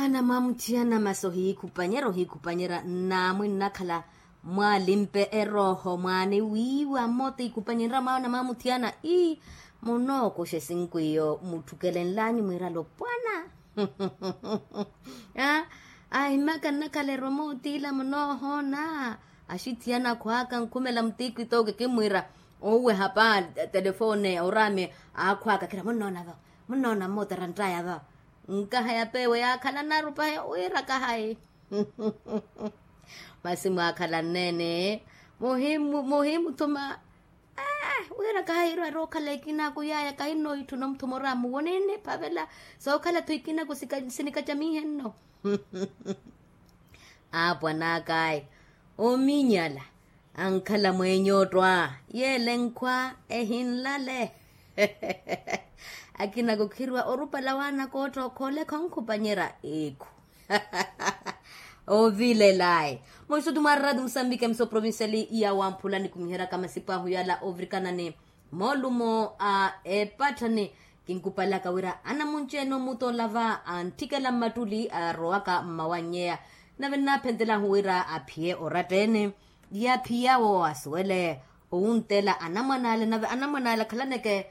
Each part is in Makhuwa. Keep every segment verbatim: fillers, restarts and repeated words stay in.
Namwamutthiyana masi ohiikhupanyerya ohiikhupanyerya nnaamwi nnakhala, mwalimpe erooho mwaani wiiwa mmoota ikhupanyerya mwaana mwamutthiyana ii, munookuxa esinkwiyo mutthukelenlanyu mwiira lopwana. Ahimaka nnakhala eromootiila munoohoona. Axitthiyana akhwaaka nkhumela mutiikhwi tooke kimmwiira, oweha pa telefone oraame, akhwaaka khira munnoona vo, munnoona mmoota eranttaya vo. Nkaha ya peewe yaakhala narupa wira kahayi. Masi mwaakhala nneene, muhimuthuma. Wira kahayi irowa rookhala ekinaku yaya kahinno itthuna omuthuma oramuwo niniphavela. Sookhala-tho ekinaku sinikacamihenno. Aapwan'akayi, ominyala ankhala mweenya ottwa, yeele nkhwa ehinlale. Akinaku khirwa orupala waanaka ottookhoole khonkhupanyerya ekhu. Ovilelayi. Munsuttu mwa rradi musambike mso provinciali ya wamphula nikumiheryaka masipu ahu yala ovirikana ni moolumo a epatthani. Kinkupalaka wira anamunci-ene omutola va antthikela mmattuli arowaka mmawannyeya. Nave nnaphentelahu wira aphiye oratta-ene, yaphiyawo asuwele owunttela anamwan'ale nave anamwan'ale akhalaneke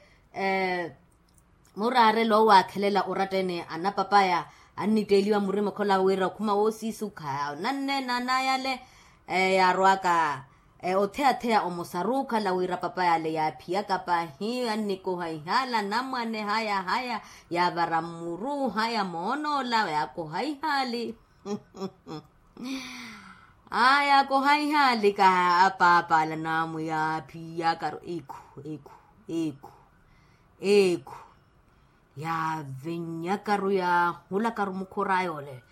muraarelo owaakhelela oratta-ene anapapaya. Annitteeliwa murima okhola wira okhuma woosiisukha nanneene anayale. Yaarowaka otheya-theya omusaruukhala wira papayale yaaphiyaka pahi annikoha ihaali anamwane haya haya, yaavara mmuru haya moon'ola yaakoha ihaali. Aya kohaihaalika apaapala naamwi yaaphiyakaru ekhu ekhu ekhu ekhu. Yaavennyakaru yaahulakaru mukhur'aya ole.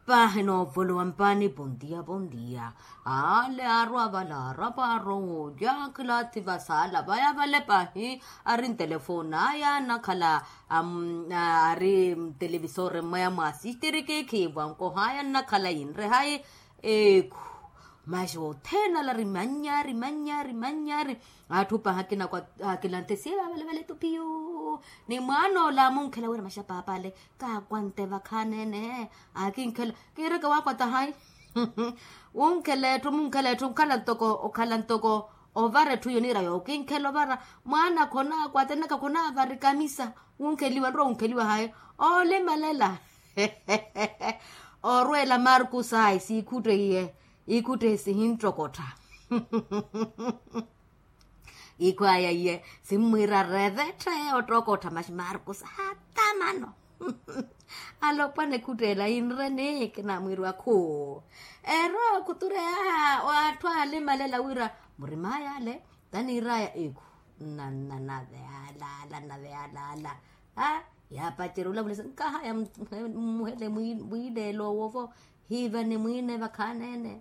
Paahi noovolowa mpaani pontiya pontiya. Ale aarwa vale aaraparo woolya khilaathi vasaala vaya vale pahi. Ari ntelefoni aya nnakhala ari ntelevisori mmweya mwaasistiriki khiivo ankohaya nnakhala yinrehayi. Ekhu. Maxi othene ala ari mannyari mannyari mannyari. Atthu pahi akina kwa akilanthe siye vavalevale tupiyu. Ni mwaan'ola amunkhela wira maxi apaapale kaakwante vakhaneene. Akinkhela kiireke waakwata hayi. Wunkhela etthu munkhela etthu okhala ntoko okhala ntoko ovara etthu iyo niira yookinkhela ovara. Mwaana khonaakwata enaka khonaavari kamisa. Wunkheliwa nrowa wunkheliwa hayi. Oolimalela. Orweela markus ayi siikhuttehiye. Ikhuttehi sihinttokottha. Ikhwaya iye simmwiira revethe ottokottha maxi markus hata mano. Alopwana ekhutteela yinreni kinamwiiriwa khuu. Ero khutureya atthu aalimalela wira murim'aya ale taniir'aya ekhu. Nanave alaala nave alaala. Yaapacerya olavulisa nkahaya mmuhele mwiileelo owovo. Hiivani mwiine vakhaneene.